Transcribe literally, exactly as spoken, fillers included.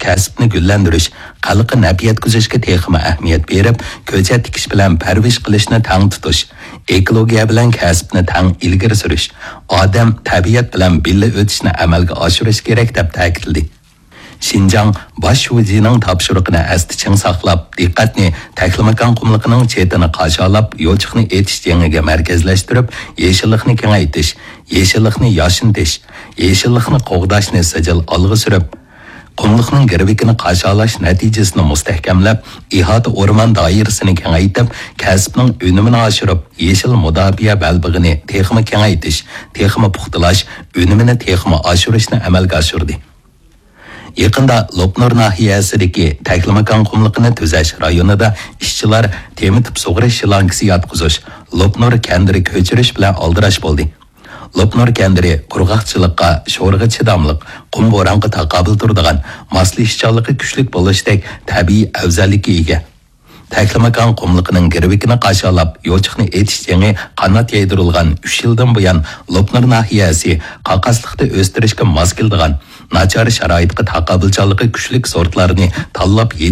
كەسىپنى گۈللەندۈرۈش، خەلققە نەپ يەتكۈزۈشكە تېخىمۇ ئەھمىيەت بېرىپ، كۆچەت تىكىش بىلەن پەرۋىش قىلىشنى تەڭ تۇتۇش، ئېكولوگىيە بىلەن كەسىپنى تەڭ ئىلگىرى سۈرۈش، ئادەم، تەبىئەت بىلەن بىللە ئۆتۈشنى ئەمەلگە ئاشۇرۇش كېرەك، دەپ تەكىتلىدى. شىنجاڭ باش شۇجىنىڭ تاپشۇرۇقىنى ئەستە چىڭ ساقلاپ، دىققەتنى تەكلىماكان قۇملۇقىنىڭ چېتىنى قاشالاپ، يوچۇقنى ئېتىش جېڭىگە مەركەزلەشتۈرۈپ، يېشىللىقنى كېڭەيتىش، يېشىللىقنى ياشنىتىش، يېشىللىقنى قوغداشنى سىجىل ئالغا سۈرۈپ، قۇملۇقنىڭ گىرۋىكىنى قاشالاش نەتىجىسىنى مۇستەھكەملەپ، ئىھاتە ئورمان دائىرىسىنى كېڭەيتىپ، كەسىپنىڭ ئۈنۈمىنى ئاشۇرۇپ، يېشىل مۇداپىئە بەلبېغىنى تېخىمۇ كېڭەيتىش، تېخىمۇ پۇختىلاش، ئۈنۈمىنى تېخىمۇ ئاشۇرۇشنى ئەمەلگە ئاشۇردى. يېقىندا لوپنۇر ناھىيەسىدىكى تەكلىماكان قۇملۇقىنى تۈزەش رايونىدا ئىشچىلار تېمىتىپ سۇغىرىش شلانكىسى ياتقۇزۇش، لوپنۇر كەندىرى كۆچۈرۈش بىلەن ئالدىراش بولدى. لوپنۇر كەندىرى قۇرغاقچىلىققا، شورىغا چىداملىق، قۇم بورانغا تاقابىل تۇرىدىغان، ماسلىشىشچانلىقى كۈچلۈك بولۇشتەك تەبىئىي ئەۋزەللىككە ئىگە. تەكلىماكان قۇملۇقىنىڭ گىرۋىكىنى قاشالاپ، يوچۇقنى ئېتىش جېڭى قانات يايدۇرۇلغان ئۈچ يىلدىن بۇيان، لوپنۇر ناھىيەسى قاقاسلىقتا ئۆستۈرۈشكە ماس كېلىدىغان، ناچار شارائىتقا تاقابىلچانلىقى كۈچلۈك سورتلارنى تاللاپ يېتىشتۈرۈپ،